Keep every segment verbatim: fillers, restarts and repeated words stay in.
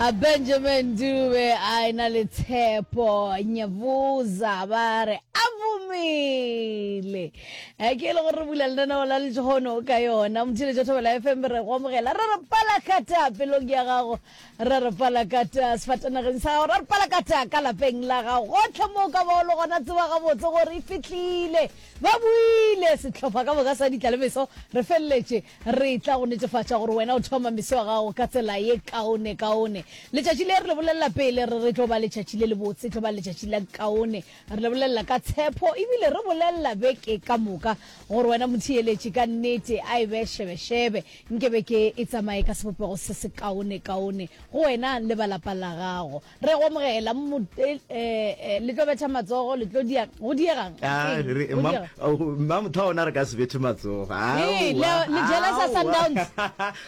A Benjamin Dube a ena le Tshepo Nyebuza ba re a vumile. Eh, ke e le gore re bula lenaneo la letšhono ka yona. Motheeletši wa Thobela F M re go amogela, re re palakata pelong ya gago, re re palakata sefatanageng sa gago, re re palakata ka lapeng la gago. Gohle mo o ka bago le gona, tseba gabotse gore e fihlile. Ba buile sehlopha ka moka sa Ditla le Meso, re feleletše re tla go netefatša gore wena o thoma meso ya gago ka tsela ye kaonekaone. Letšatši le re le bolelela pele re re tlo ba letšatši le lebotse, tlo ba letšatši la kaone. Re le bolelela ka tshepo ebile re bolelela beke ka moka gore wena motheeletši ka nnete a e be šebešebe, nke beke e tsamaye ka sebopego se se kaonekaone go wena le ba lapa la gago. Re go amogela mo, eh, eh, le tlo betha matsogo, le tlo dia, go diegang? Ah, Keng? re- Go mma- diega? oh, mma motho wa ona re ka se bethe matsogo. Ee, le, Aowa, le jealous-a aowa. Sundowns.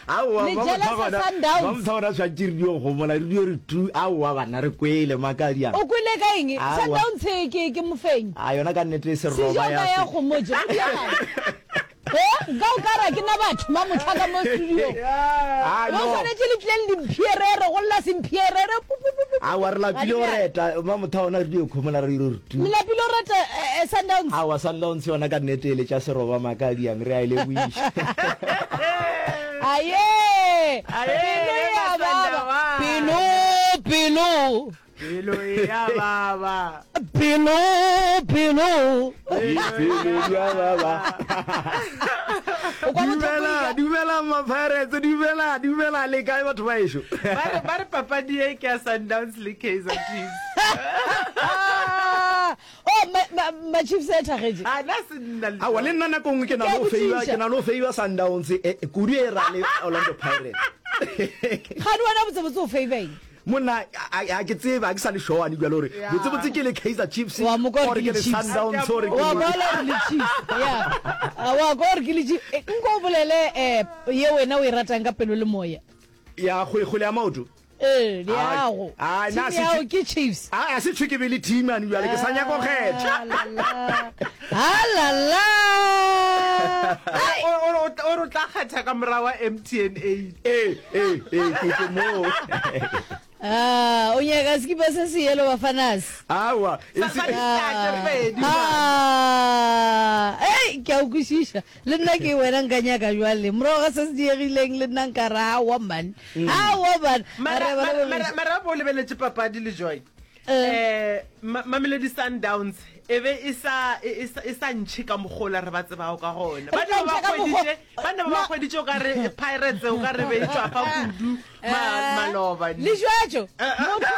Aowa, Le mma motho wa jealous-a gona- Sundowns. mma motho wa gona tshwantše re dio gomola, re dio re tu, aowa bana re kwele makadiang. O kwele ka eng? Aowa. Sundowns ke, ke mofenyi. A yona ka nnete e se Sejo roba ka ya ya se. gomotše, go diegang? Eh, ka o ka ra ke na batho ma mohla ka mo studio. Ah, Ba no. swanetše le tlileng dimpierere, go lla sempierere. Pu, pu, pu, pu, pu. Aowa, re lapile go Ga di bjalo. reta, mma motho wa gona re dio khomola, re dio re tu. Le lapile go reta, eh, eh, Sundowns? Aowa, Sundowns yona ka nnete e letša seroba makadiang, re a e lebogiša. Aye! Aye, Pelo le ya baba. Masandawana. Pelo, pelo. Pelo ya baba. Pelo, pelo. Pelo ya baba. O kwa bohloko Dumela, eja? dumela ma-Pirates, dumela, dumela le kae batho ba ešo? Ba re ba re papadi e ke ya Sundowns le Kaizer Chiefs. Oh, ma, ma, ma Chiefs a thagetše. A na se nna le. Aowa, le nna nako nngwe ke na Ke a le go feiwa, botšiša. ke na le go feiwa Sundowns, eh, kudu e ra le Orlando Pirates. Gane wena botsebotse o feiwa eng? Monna, a a ke tsebe, a ke sa le sure ane bjalo gore Yeah. botsebotse ke le Kaizer Chiefs Wa mo kwa or gore ke ke le le Chiefs. Sundowns or ke Wa le bona gore le Chiefs. Yeah. Ah, wa kwa gore ke le Chiefs. Eh, nko o bolele eh ye wena o e ratang ka pelo le moya. Ya kgwele kgwele ya maoto. Eh, le Ah, yago. ah, Team na se yago tšwe- ke Chiefs. A a se tšhwe ke be le team ane bjale ke sa nyaka go kgetha. Ah, la, la. Ah, la, la. Ai. O o o re o tla kgetha ka morago wa M T N eight. Eh, eh, eh, ke ke mo. Ah, o nyaka sekipa se se yellow bafanas. Aowa, e Sa se- sa di-star pedi. Ah, ei, ke a o kwešiša. Le nna ke wena nka nyaka jwale. Morago ga se se diegileng le nna nka re aowa man. Aowa man. Mara Re ba mara lebogiša. mara mara bo lebeletše papadi le Joy. Eh. Eh Ma- Mamelodi Sundowns e be e sa e e sa e sa ntšhe ka mogola re ba tsebago ka gona. Ba Re tla ne ba ntšha ka mokgo- hweditše ba ne ba Ma- hweditše o ka re Pirates o ka re be e tšwafa kudu ma Eh, maloba. Le jwetšo. Motho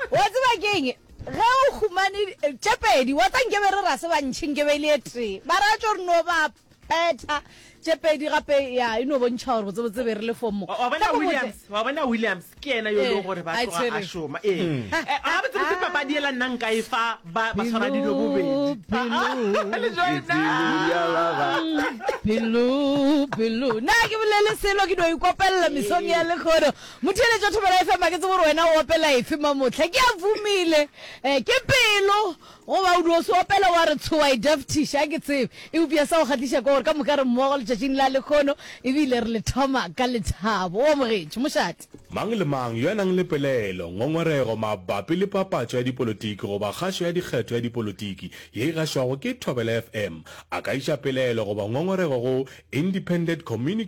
wa tseba ke eng? Ge o humane eh, tše pedi, wa tsa nkebe re ra se bantšhi nkebe e le e tee. Ba ra tšo re no ba petha tše pedi gape ya e no bontšha gore botsebotse be re le fomo. Wa wa bona Tla ko botse. Williams, wa bona Williams ke yena yo e leng gore ba Eh, a tloga a tshwere. šoma. Ee. Eh, ga botsebotse papadi ela nna nka e fa ba ba tshwara dilo bobedi. Pelo, Le Joy Pelo ya baba. pelo, pelo. Nna ke bolele selo ke no ikopelela mesong ya lekgono. Motheeletši wa Thobela F M a ke tsebe gore wena o opela efe mamotlha. Ke a vumile. Eh, ke pelo goba o dio se opela wa re tshoa e daftiša, a ke tsebe. Eupša sa go kgahliša ke gore ka moka re mmogo letšatšing la lekgono ebile re le thoma ka lethabo. O amogetše mošate. Mang le mang yo a nang le pelaelo, ngongorego mabapi le papatšo ya dipolotiki goba kgašo ya dikgetho ya dipolotiki ye e gašwago ke Thobela F M, a ka iša pelaelo goba ngongorego go Independent Communications